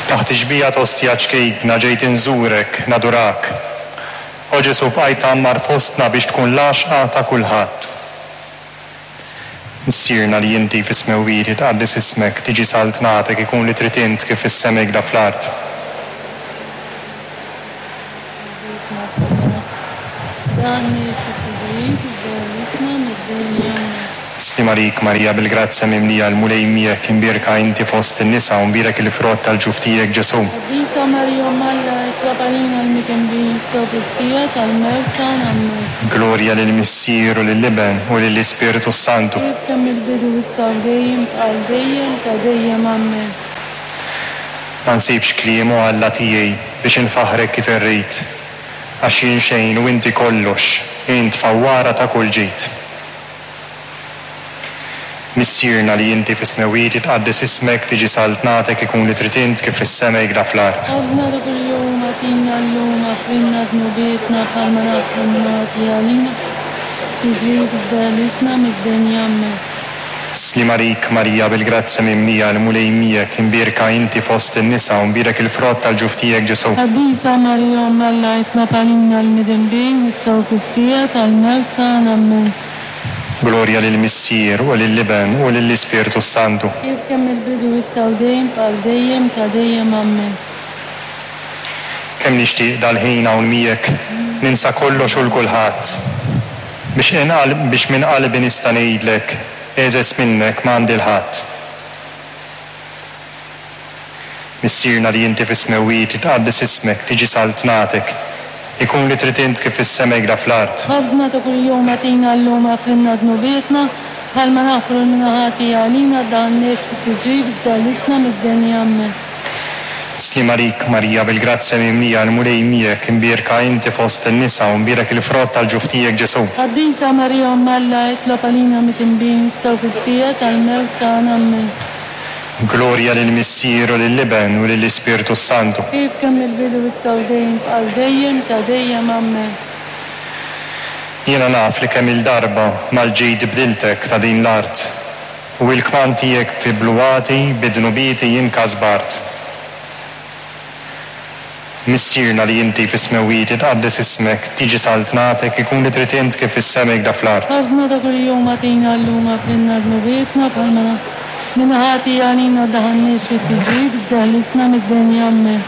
Taħt ix-xbieha t'ostja ċkejkna ġejt inżurek, nadurak. O Ġesù bqajt tgħammar fostna biex tkun l-għaxqa ta' kulħadd. Missierna li inti fis-smewwiet jitqaddes ismek, tiġi saltnatek, ikun li trid int kif fis-sema hekda fl-art. Sliem għalik Marija bil-grazzja mimlija l-Mulej miegħek imbierka inti fost in-nisa u mbierek il-frott tal-ġuf tiegħek Ġesù. Qaddisa Marija Omm Alla itlob għalina l-midinbin issa u fis-siegħa tal-mewt tagħna Ammen. Glorja lill-Missier u lill-Iben u lill-Ispirtu s-Santu. Kif kien mill-bidu issa u dejjem għal dejjem ta' dejjem Ammen. Ma nsibx kliem, o Alla tiegħi, biex infaħħrek kif irrid, għax jien xejn u inti kollox, int fawwara ta' kull ġid. Missierna li inti fis-smewwiet jitqaddes ismek, tiġi saltnatek, ikun li trid int kif fis-sema hekda fl-art. Ħobżna ta' kuljum agħtina llum, aħfrilna dnubietna bħalma naħfru n-noti għalina, tiġix f'degħlisna mid-dinja. Ammen. Sliem għalik Marija bil-grazzja mimlija, l-Mulej miegħek, imbierka inti fost in-nisa u mbierek il-frott tal-ġuf tiegħek Ġesù. Qaddisa Marija Omm Alla itlob għalina l-midinbin issa u fis-siegħa tal-mewt tagħna. Ammen. Glorja lill-Missier u lill-Iben u lill-Ispirtu s-Santu. Kif kien mill-bidu issa u dejjem għal dejjem ta' dejjem. Ammen. Kemm nixtieq dal-ħin hawn miegħek ninsa kollox u 'l kulħadd. Biex biex minn qalbi nista' ngħidlek, egħżeż minnek m'għandi 'l ħadd. Missierna li inti fis-smewwiet, jitqaddes ismek, tiġi saltnatek. Ikun li trid int kif fis-sema hekda fl-art. Ħobżna ta' kuljum agħtina llum aghfrilna dnubietna, bħalma naghfru 'l min ħati għalina, ddaħħalniex fit-tiġrib iżda ħlisna mid-deni. Ammen. Sliem għalik Marija bil-grazzja mimlija l-Mulej miegħek, imbierka inti fost in-nisa u mbierek il-frott tal-ġuf tiegħek Ġesù. Qaddisa Marija Omm Alla itlob għalina midinbin issa u fis-siegħa tal-mewt tagħna. Ammen. Glorja lill-Missier u lill-Iben u lill-Ispirtu s-Santu. Kif kien mill-bidu issa u dejjem għal dejjem ta' dejjem. Ammen. Jiena naf li kemm-il darba mal-ġid bdiltek ta' din l-art. U il-kmand tiegħek fi bluwati bi dnubieti jien kasbart. Missierna li inti fis-smewwiet jitqaddes ismek, tiġi saltnatek, ikun li trid int kif fis-sema hekda fl-art. Ħobżna ta' kuljum agħtina llum aghfrilna dnubietna bħalma naħfru min ħati għalina ddaħħalniex fit-tiġrib iżda ħlisna mid-deni. Ammen.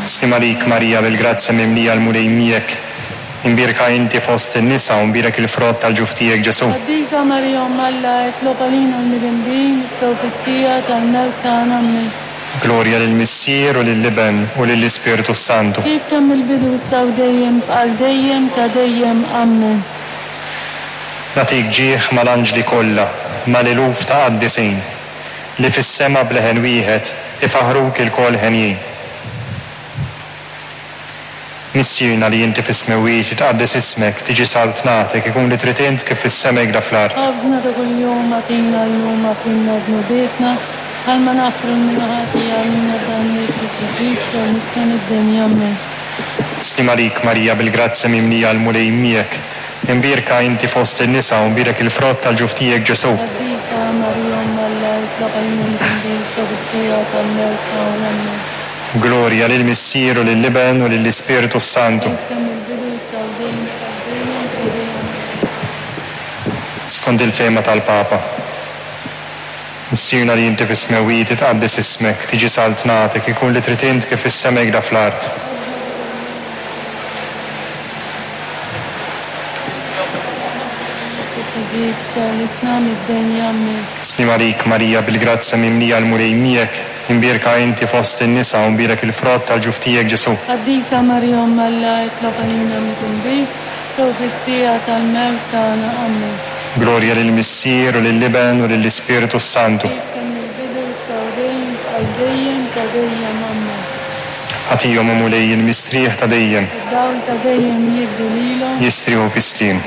Sliem għalik Marija bil-grazzja mimlija l-Mulej miegħek. Imbierka inti fost in-nisa u mbierek il-frott tal-ġuf tiegħek Ġesù. Qaddisa Marija Omm Alla, itlob għalina l-midinbin, issa u fis-siegħa tal-mewt tagħna. Ammen. Glorja lill-Missier u lill-Iben u lill-Ispirtu s-Santu. Kif kien mill-bidu issa u dejjem għal dejjem ta' dejjem. Ammen. Nagħtik ġieħ mal-anġli kollha, mal-eluf ta' qaddisin, li fis-sema b'leħen wieħed ifaħħruk ilkoll henjin. Missierna li inti fis-smewwiet, jitqaddes ismek, tiġi saltnatek, ikun li trid int kif fis-sema hekda fl-art. Ħobżna ta' kuljum agħtina llum aghfrilna dnubietna, bħalma naghfru 'l min ħati għalina ddaħħalniex fit-tiġrib iżda ħlisna mid-deni. Ammen. Sliem għalik Marija bil-grazzja mimlija l-Mulej miegħek, imbierka inti fost in-nisa u mbierek il-frott tal-ġuf tiegħek Ġesù. Qaddisa Marija Omm Alla, itlob għalina midinbin issa u fis-siegħa tal-mewt tagħna. Ammen. Glorja lill-Missier u lill-Iben u lill-Ispirtu s-Santu. Skont il-fehma tal-Papa. Missierna li inti fis-smewwiet, itqaddes ismek, tiġi saltnatek, ikun li trid int kif fis-sema hekda fl-art. Sliem għalik Marija bil-grazzja mimlija l-Mulej miegħek, Imbierka inti fost in-nisa u mbierek il-frott tal-ġuf tiegħek Ġesù. Qaddisa Marija Omm Alla itlob għalina midinbin, issa u fis-siegħa tal-mewt tagħna. Ammen. Glorja lill-Missier u lill-Iben u lill-Ispirtu s-Santu. Kif kien mill-bidu, issa u dejjem, għal dejjem ta' dejjem. Ammen. Agħtihom, o Mulej, il-mistrieħ ta' dejjem. Id-dawl ta' dejjem jiddi lilhom. Jistrieħu fis-sliem.